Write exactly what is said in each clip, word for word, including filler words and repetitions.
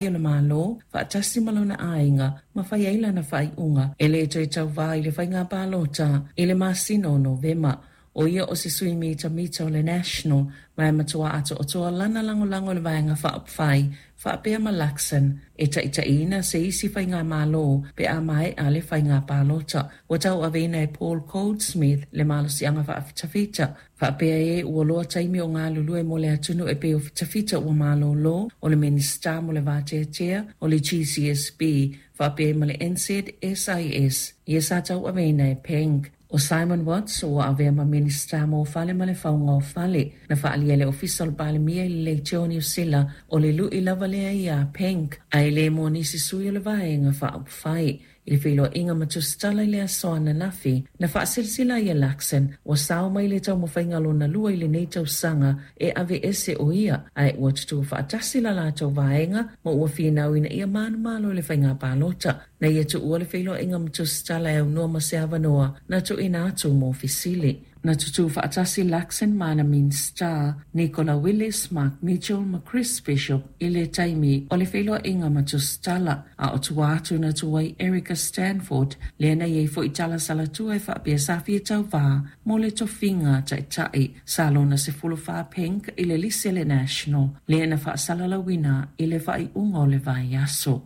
O le Malo faatasi ma lona aiga ma fai ai lana faaiuga e le toe tauvā i le faiga palota i le masina o Novema. O ia o se sui mitamita o le National ma e matua atoatoa lana lagolago i le Vaega Faaupufai faapea ma Luxon e taitaiina se isi faigamalo pe a maea le faiga palota. Ua tauaveina e Paul Goldsmith le malosiaga faafitafita faapea e ua loa taimi o galulue mo le atunuu e pei o fitafita ua malolo o le Minisita mo le Vateatea o le G C S B faapea ma le N Z S I S ia sa tauaveina e Peng. O Simon Watts ua avea ma Minista mo Fale ma le Fauga o Fale. Na faaalia e le Ofisa o le Palemia i le Leitio Niu Sila o le lui lava lea ia Peng ae le mo nisi sui o le Vaega Faaupufai. I le feiloaiga ma tusitala i le aso ananafi, na faasilasila ia Luxon ua sao mai le taumafaiga lona lua i lenei tausaga e ave ese o ia, ae ua tutū faatasi la latou vaega ma ua finau ina ia manumalo i le faiga palota. Na ia tuua le feiloaiga ma tusitala e aunoa ma se avanoa na tuuina atu mo fesili. Na tutū faatasi Luxon ma ana Minisita Nicola Willis, Mark Mitchell ma Chris Bishop i le taimi o le feiloaiga ma tusitala, a o tua atu na tu ai Erica Stanford lea na iai foi tala salatua e faapea sa fia tauvā mo le tofiga taitai. Sa lona sefulu whā Peng i le lisi a le National lea na faasalalauina i le faaiuga o le vaiaso.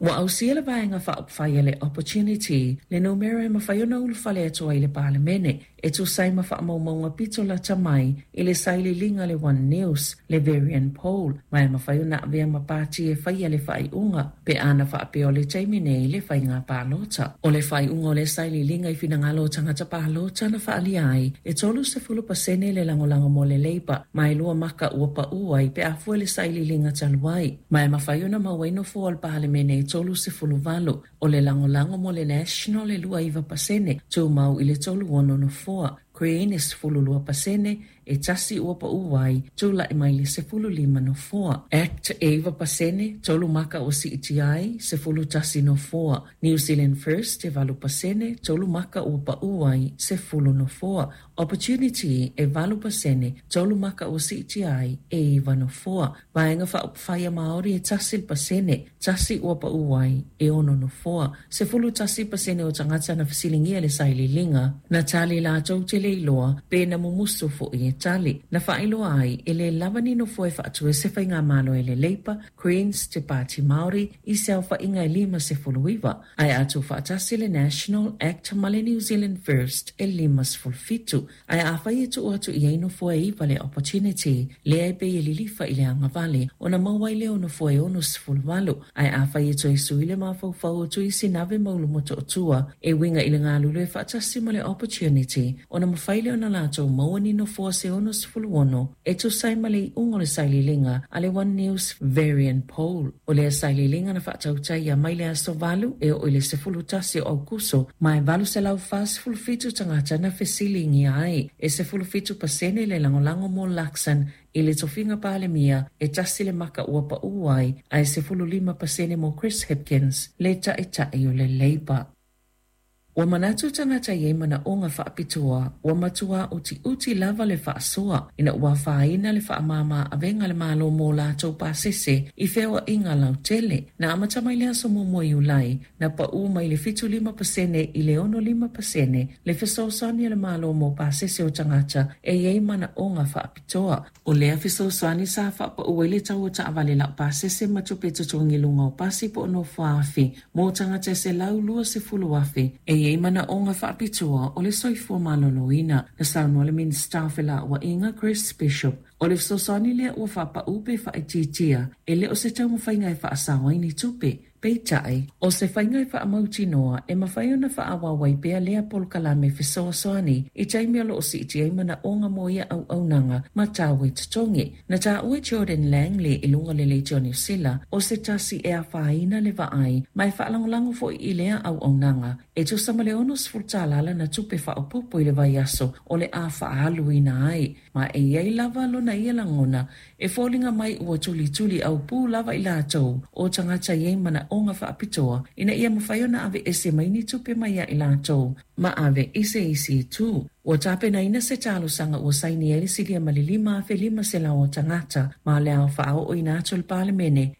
Ua ausia le Vaega Faaupufai a le Opportunity le numera e mafai ona ulufale atu ai le Palemene e tusa ai ma faamaumauga pito lata mai i le sailiiliga le One News, le Verian Poll, ma e mafai ona avea ma pati e faia le faaiuga pe ana faapea o le taimi nei le faiga palota. O le faaiuga o le sailiiliga i finagalo o tagata palota na faaalia ai e tolusefulu pasene le lagolago mo le Labour, ma e lua maka ua pau ai pe a fua le sailiiliga talu ai, ma e mafai ona maua ai nofoa o le Palemene e tolusefulu valu. O le lagolago mo le National e lua iva pasene, tumau i le tolu ono nofoa. Green e sefulu lua pasene, e tasi ua pau ai, tula'i mai le sefulu lima nofoa. ACT e iva pasene, tolu maka ua siitia ai, sefulu tasi nofoa. New Zealand First e valu pasene, tolu maka ua pau ai, sefulu nofoa. Opportunity e valu pasene, tolu maka ua siitia ai, e iva nofoa. Vaega Faaupufai a Māori e tasi le pasene, tasi ua pau ai, e ono nofoa. Sefulu tasi pasene o tagata na fesiligia le sailiiliga na tali latou te le iloa pe na mumusu fo'i e tali. Na faailoa ai e le lava ni nofoa e faatu ai se faigamalo e le Labour, Greens, te Pāti Māori i se aofaiga e lima sefulu iva, ae a tuufaatasi le National, ACT ma le New Zealand First e lima sefulu fitu. Ae afai e tuu atu i ai nofoa e iva le Opportunity lea e pei e lilifa i le agavale ona maua ai lea o nofoa e ono sefulu valu. Ae afai e toe sui le mafaufau o Tuisinave ma Ulumotootua e uiga i le galulue faatasi ma le Opportunity, ona mafai lea ona latou maua ni nofoa se ono sefulu ono e tusa ai ma le iuga o le sailiiliga a le One News Verian Poll. O lea sailiiliga na faatautaia mai le aso valu e oo i le sefulu tasi o Aukuso, ma e valu selau fasefulu fitu tagata na fesiligia ai. E sefulu fitu pasene le lagolago mo Luxon i le tofiga Palemia, e tasi le maka ua pau ai, ae sefulu lima pasene mo Chris Hipkins, le taitai o le Labour. Ua manatu tagata i ai manaoga faapitoa ua matua utiuti lava le faasoa ina ua afaina le faamāmā avega le Malo mo latou pasese i feoaiga lautele. Na amata mai le aso muamua Iulai, na pau mai le fitu lima pasene i le ono lima pasene le fesoasoani a le Malo mo pasese o tagata e i ai manaoga faapitoa. O lea fesoasoani sa faapau ai le tau o taavale laupasese ma tupe totogi luga o pasi po o nofoafi mo tagata e se lau lua sefulu afe e i ai manaoga faapitoa o le soifua maloloina. Na saunoa le Minista o Felauaiga Chris Bishop o le fesoasoani lea ua faapau pe faaitiitia e le o se taumafaiga e faasao ai ni tupe. Peitai, o se faiga e faamautinoa e mafai ona faaauau ai pea lea polokalame fesoasoani i taimi o loo siitia ai manaoga mo ia auaunaga ma tau e totogi. Na taua e Jordan Langley i luga le Leitio Niu Sila o se tasi e afaina le vaai ma e faalagolago foi i lea auaunaga e tusa ma le ono sefulu tālā lana tupe faaopoopo i le vaiaso o le a faaaluina ai, ma e iai lava lona ia lagona e foliga mai ua tulituli aupū lava i latou o tagata i ai manaoga faapitoa ina ia mafai ona ave ese mai ni tupe mai ia i latou ma ave i se isi itu. Ua tapenaina se talosaga ua saini ai le silia ma le lima afe lima selau o tagata ma le ao faaooina atu le Palemene.